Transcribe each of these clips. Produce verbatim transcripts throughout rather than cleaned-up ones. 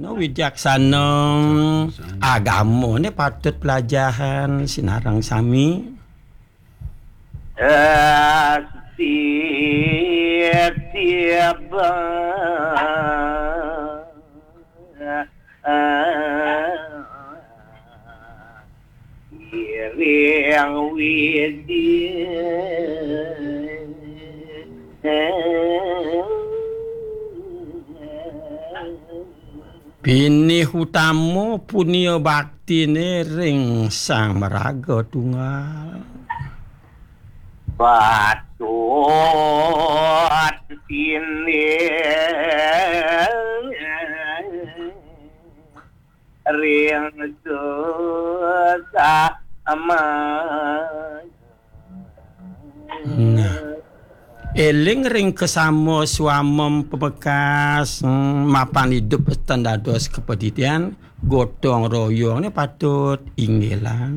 No, wicaksana agama ni patut pelajahan sinareng sami. Iring widi. Pinih utama punia baktine ring Sang Maraga Tunggal. Patut pinih ring sesama. Nah. Eling ring kasama swamem pamekas, hmm, mapan idup ten dados kapadidian, gotong royongne patut inggilang.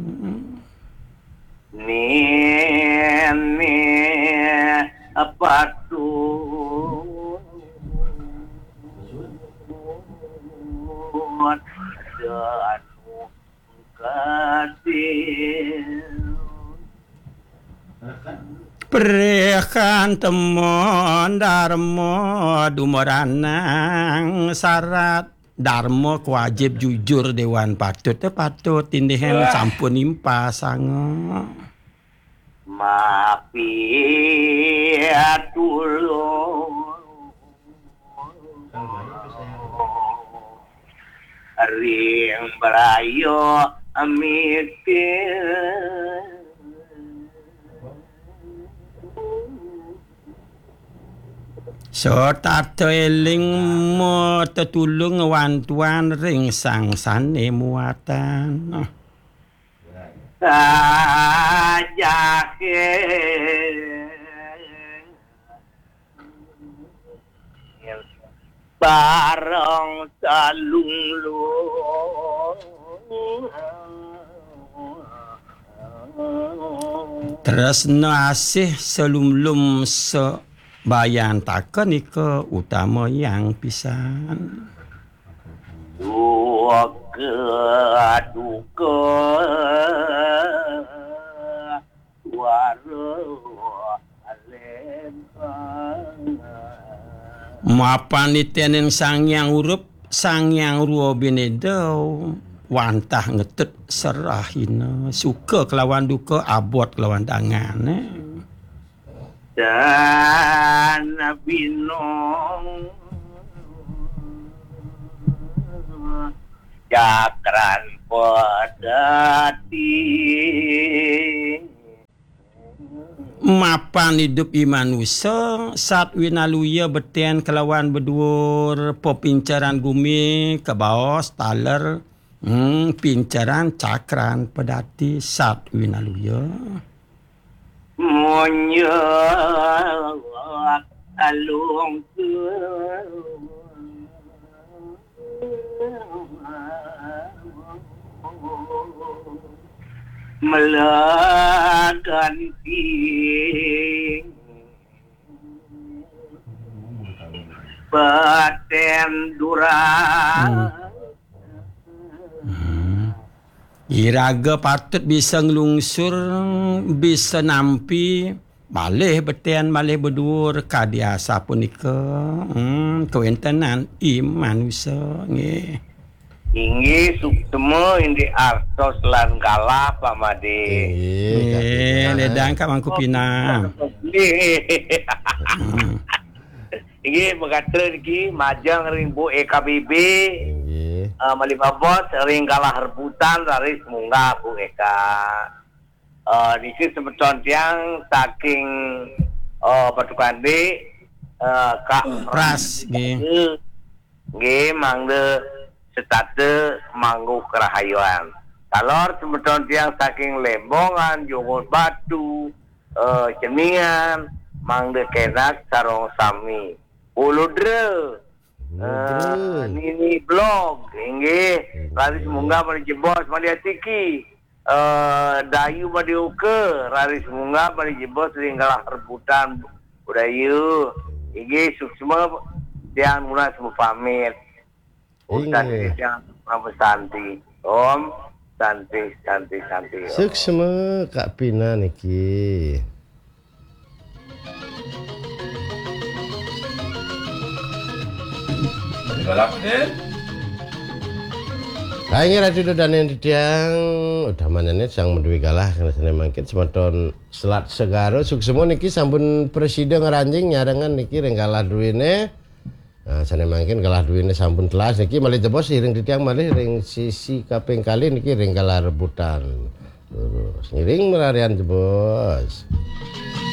Nini patut Prekan temon darma dumeranang sarat. Darma kewajib jujur dewan patut, eh, patut tindihan sampun impasanga. Mapi tulung ring braya mitir. Setata eling matetulung wantuan ring sang sane muatan. Sajahe bareng salunglung. Tresna asih salumlum sabayantaka nika utamayang pisan. Duka, duka, wara lempang. Mapan nitenin Sang Hyang Urup, Sang Hyang Rua Bineda, wantah ngetut serahina, suka kelawan duka, abot kelawan dangan, eh. Dan binong cakran pedati. Mapan idup i manusa, sat winaluya beten kelawan beduur, pepinceran gumi, kabaos, taler, hmm, pinceran, cakran, pedati, sat winaluya. Munjuk alung melaganti baten durang. Hmm. Hmm. Iraga patut bisa nglungsur, bisa nampi, malih beten, malih beduur, kadi asapunika, hmm, kawentenan i manusa, nggih. Inggih, suksma indik artos lan galah, Pak Made. Inggih, nggih, Kak Ledang, Kak Mangku Pinang. Nggih. Hmm. Inggih, magatra niki majeng ring Bu E K B B. Inggih. Eh, malih babos ring galah rebutan raris munggah Bu Eka. Eh, niki semeton tiang saking, eh, Batu Kandih, eh, Kak Pras, nggih. Nggih, mangda setata mangguh kerahayuan. Taler semeton tiang saking Lembongan, Jongos Batu, eh, Ceningan, mangda kenak sareng sami. Uludra, Uludra. Eh, Nini Blog, inggih. Inggih. Raris munggah malih jebos, malih atiki. Eh, Dayu Madioka, raris munggah malih jebos ring galah rebutan budaya. Inggih, suksma Tiang mula semua pamit. Om Inggih. Santi, Tiang Om Santi. Om Santi, Santi, Santi. Om. Suksma Kak Pina niki. Galak deh. Hai, nggih, Ratu Dodane titiang, udah manene sang menduwe galah kena sene mangkin semeton Selat Segara suksma niki sampun presida ngranjing nyarengan niki ring galah duwene. Nah, sane mangkin galah duwene sampun telas niki malih jebos iring titiang malih ring sisi kaping kalih niki ring galah rebutan. Terus ngiring merarian jebos.